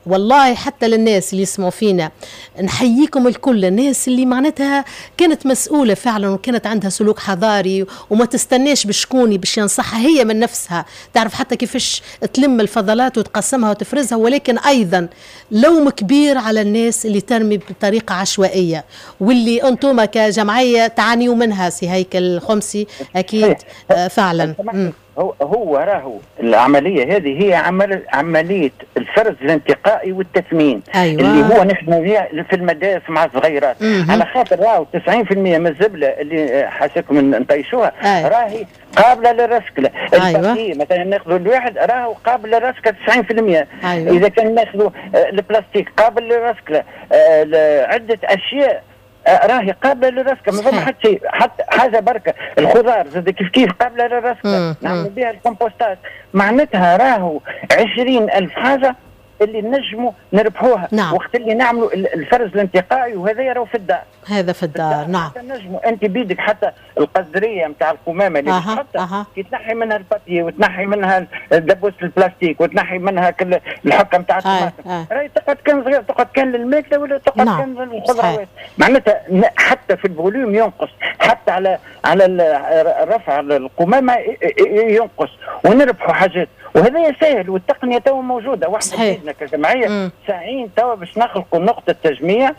والله حتى للناس اللي يسمعوا فينا نحييكم الكل، الناس اللي معناتها كانت مسؤولة فعلا وكانت عندها سلوك حضاري وما تستناش بشكوني باش ينصحها، هي من نفسها تعرف حتى كيفاش تلم الفضلات وتقسمها وتفرزها. ولكن أيضا لوم كبير على الناس اللي ترمي بطريقة عشوائية، واللي أنتم كجمعية تعانيوا منها سي هيكل الخمسي أكيد. فعلا هو راهو العملية هذه هي عملية الفرز الانتقائي والتثمين. أيوة. اللي هو نخدموا فيها في المدارس مع الصغيرات. على خاطر راهو 90% من الزبله اللي حاسكم نطيشوها. أيوة. راهي قابله للرسكله. أيوة. مثلا ناخذوا الواحد راهو قابل للرسكله 90%. أيوة. اذا كان ناخذوا البلاستيك قابل للرسكله، عده اشياء راهي قابله للرسكه، ما فما حتى شيء، حتى حاجة بركة. الخضار زاد كيف كيف قابله للرسكه، نعملوا بها الكومبوستات. معناتها راهو 20,000 حاجة اللي نجموا نربحوها. نعم. وقت اللي نعملوا الفرز الانتقائي، وهذا راهو في الدار، هذا في الدار. نعم. نجموا انت بيدك حتى القزريه نتاع القمامة اللي تحطها كي تنحي منها ال papier وتنحي منها دبوس البلاستيك وتنحي منها كل الحكة نتاع الطماطم، راهي تقعد كان صغير، تقعد كان للماكله ولا تقعد. نعم. كان للخضروات. معناتها حتى في ال volume ينقص، حتى على رفع القمامة ينقص، ونربحوا حاجات. وهذا سهل والتقنية تو موجودة، واحنا بيدنا كجمعية ساعين تو باش نخلقوا نقطة تجميع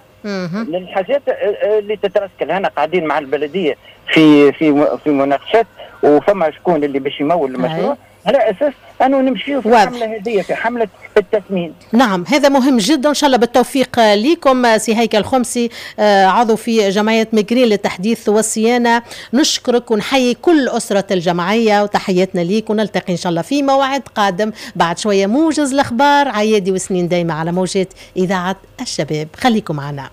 للحاجات اللي تترسكل. هنا قاعدين مع البلدية في في في مناقشات، وفما شكون اللي باش يمول المشروع على اساس انه نمشيو في الحملة هذه، في حمله التثمين. نعم، هذا مهم جدا. ان شاء الله بالتوفيق لكم سي هيكل الخمسي، عضو في جمعية ميغرين للتحديث والصيانه. نشكرك ونحيي كل اسره الجمعية وتحياتنا ليك، ونلتقي ان شاء الله في موعد قادم بعد شوية موجز الاخبار عيادي وسنين دايمه على موجات اذاعة الشباب. خليكم معنا.